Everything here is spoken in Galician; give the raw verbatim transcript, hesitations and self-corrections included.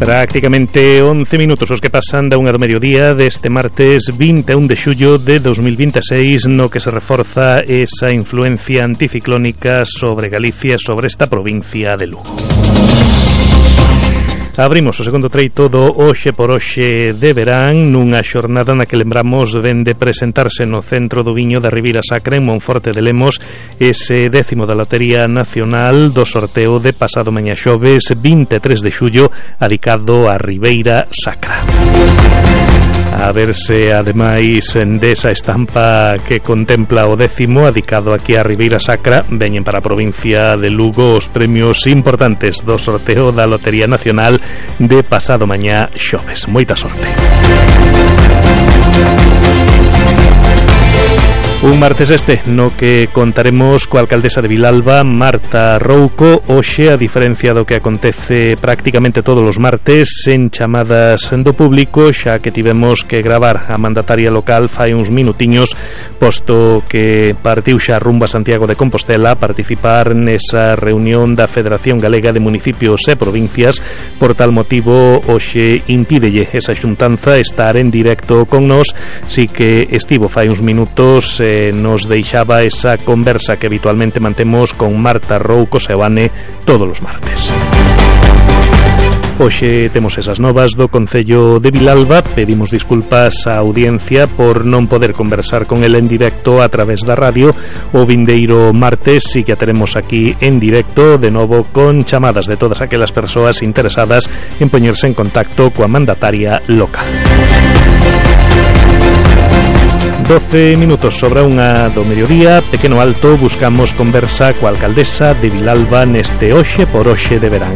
Prácticamente once minutos os que pasan da unha do mediodía deste martes vinte e un de xullo de dos mil vinte e seis, no que se reforza esa influencia anticiclónica sobre Galicia, sobre esta provincia de Lugo. Abrimos o segundo treito do Hoxe por Hoxe de verán nunha xornada na que lembramos ven de presentarse no Centro do Viño da Ribeira Sacra en Monforte de Lemos ese décimo da Lotería Nacional do sorteo de pasado mañá xoves vinte e tres de xullo adicado a Ribeira Sacra. A verse, ademais, desa estampa que contempla o décimo adicado aquí a Ribeira Sacra, veñen para a provincia de Lugo os premios importantes do sorteo da Lotería Nacional de pasado mañá xoves. Moita sorte. Un martes este no que contaremos coa alcaldesa de Vilalba, Marta Rouco. Hoxe, a diferencia do que acontece prácticamente todos os martes en chamadas do público, xa que tivemos que gravar a mandataria local fai uns minutiños, posto que partiu xa rumbo a Santiago de Compostela a participar nesa reunión da Federación Galega de Municipios e Provincias. Por tal motivo, hoxe impídelle esa xuntanza estar en directo con nós, si que estivo fai uns minutos eh, nos deixaba esa conversa que habitualmente mantemos con Marta Rouco Seoane todos os martes. Hoxe temos esas novas do Concello de Vilalba. Pedimos disculpas á audiencia por non poder conversar con el en directo a través da radio. O vindeiro martes si que a teremos aquí en directo, de novo con chamadas de todas aquelas persoas interesadas en poñerse en contacto coa mandataria local. doce minutos sobre unha do mediodía, pequeno alto, buscamos conversa coa alcaldesa de Vilalba neste Hoxe por Hoxe de verán.